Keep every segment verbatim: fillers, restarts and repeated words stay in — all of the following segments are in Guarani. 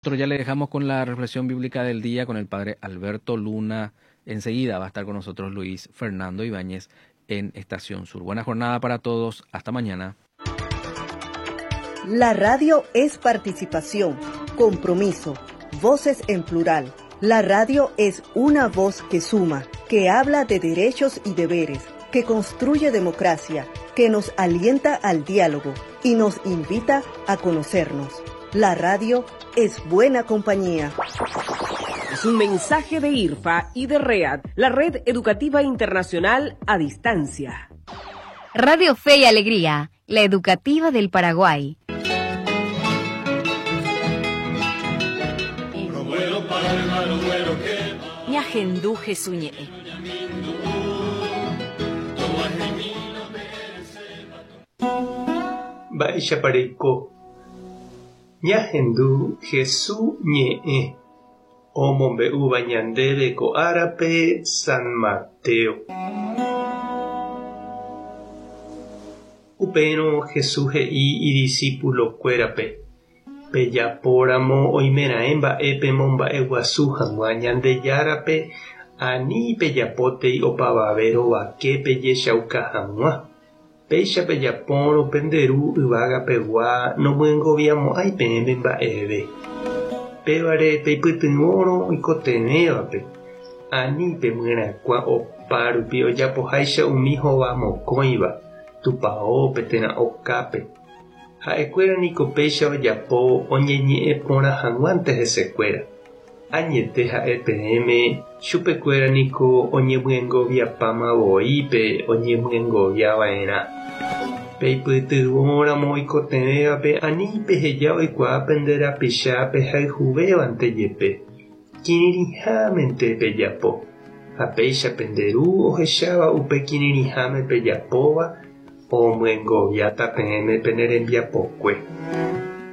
Nosotros ya le dejamos con la reflexión bíblica del día con el padre Alberto Luna. Enseguida va a estar con nosotros Luis Fernando Ibáñez en Estación Sur. Buena jornada para todos. Hasta mañana. La radio es participación, compromiso, voces en plural. La radio es una voz que suma, que habla de derechos y deberes, que construye democracia, que nos alienta al diálogo y nos invita a conocernos. La radio es buena compañía. Es un mensaje de IRFA y de READ, la Red Educativa Internacional a Distancia. Radio Fe y Alegría, la educativa del Paraguay. Ñahendu Jesús ñe'ẽ. Mba'éichapa reiko. Ñahendu Jesús ñe'ẽ omombe'úva ñandéve ko árape San Mateo. Upérõ Jesús he'i idiscípulokuérape pejapóramo oimeraẽ mba'e pemomba'eguasu hag̃ua Ñandejárape ani pejapótei opavave rovake pejechauka hag̃ua. Péicha pejapórõ pende ru yvágapegua nomyengoviamo'ãi peẽme mba'eve. Pévare peipytyvõrõ oikotevẽvape ani pemyerakuã opárupi ojapoháicha umi hovamokõiva tupãópe térã okápe. Ha'ekuéra niko péicha ojapo oñeñe'ẽ porã hag̃uánte hesekuéra. Añete ha'e peẽme chupekuéra niko oñemyengoviapáma pe oñemyengoviava'erã. Peipytyvõramo oikotevẽvape ani peheja oikuaa pende rapicha pehayhuvévante jepe. Kirirĩhámente pejapo. Ha péicha pende ru ohecháva upe kirirĩháme pejapóva omyengoviáta peẽme pene rembiapokue.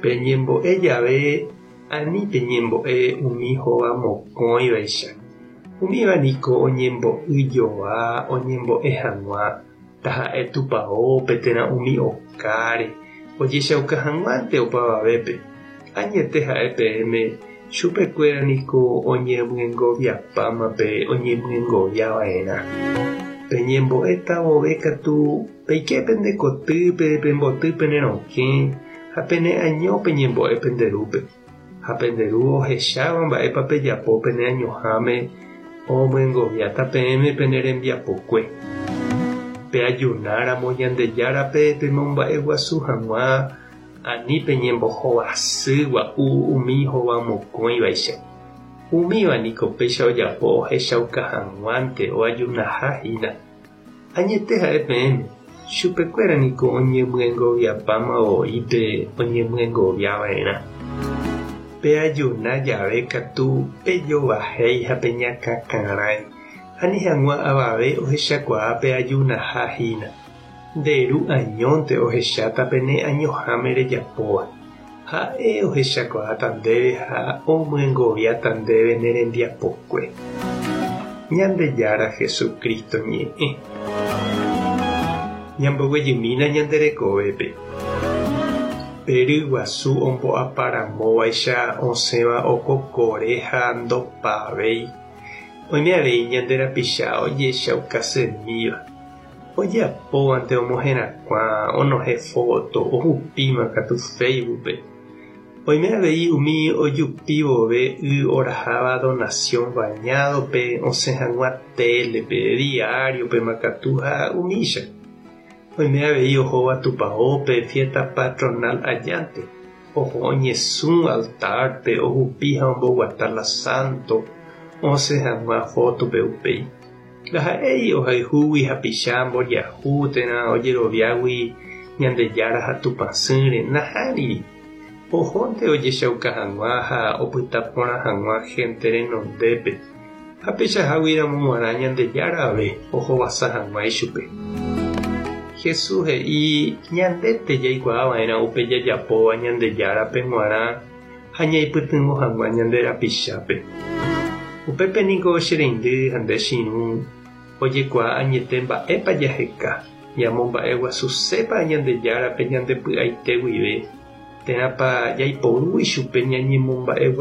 Peñembo'e jave ani peñembo'e umi hovamokõivaicha. Umíva niko oñembo'yjoa oñembo'e hag̃ua taha'e tupãópe térã umi okáre ojechauka hag̃uánte opavavépe. Añete ha'e peẽme chupekuéra niko oñemyengoviapáma pe oñemyengoviava'erã. Peñembo'éta vove katu peike pende kotýpe pemboty pene rokẽ ha pene año peñembo'e pende rúpe. Ha pende ru ohecháva mba'épa pejapo pene añoháme omyengoviáta peẽme pene rembiapokue. Peajunáramo Ñandejárape pemomba'eguasu hag̃ua ani peñembohovasy gua'u umi hovamokõivaicha. Umíva niko péicha ojapo ohechauka hag̃uánte oajunahahína. Añete ha'e peẽme chupekuéra niko oñemyengoviapáma voípe oñemyengoviava'erã. Peajuna jave katu pejovahéi ha peñakãkarãi ani hag̃ua avave ohechakuaa peajunahahína. Nde ru añónte ohecháta pene añoháme rejapóva. Ha'e ohechakuaáta ndéve ha omyengoviáta ndéve ne rembiapokue. Ñandejára Jesucristo ñe'ẽ. Ñamboguejymína ñande rekovépe. Peryguasu ombo'aparamóvaicha osẽva okokore ha ndopavéi. Oime avei ñande rapicha ojechaukasemíva. Ojapóvante omoherakuã onohẽ foto ohupíma katu Facebookpe. Oime avei umi ojupívove y oraháva donación bañadope osẽ hag̃ua télepe, diariope makatu ha umícha. Oime avei ohóva tupãópe fiesta patronal ajánte. Oho oñesũ altarpe ohupi ha omboguata la santo osẽ hag̃ua fotope upéi. Ndaha'éi ohayhúgui hapicha mboriahu térã ojeroviágui Ñandejára ha Tupãsýre nahániri. Ohónte ojechauka hag̃ua ha opyta porã hag̃ua gente renondépe. Ha peichaháguiramo g̃uarã Ñandejára ave ohovasa hag̃ua ichupe. Jesús he'i ñandete jaikuaava'erã upe jajapóva Ñandejárape g̃uarã ha ñaipytyvõ hag̃ua ñande rapichápe. Upépe niko che reindy ha nde che irũ ojekuaa añete mba'épa jaheka ñamomba'eguasusépa Ñandejárape ñandepy'aite guive Térãpa jaiporu ichupe ñañemomba'eguasu.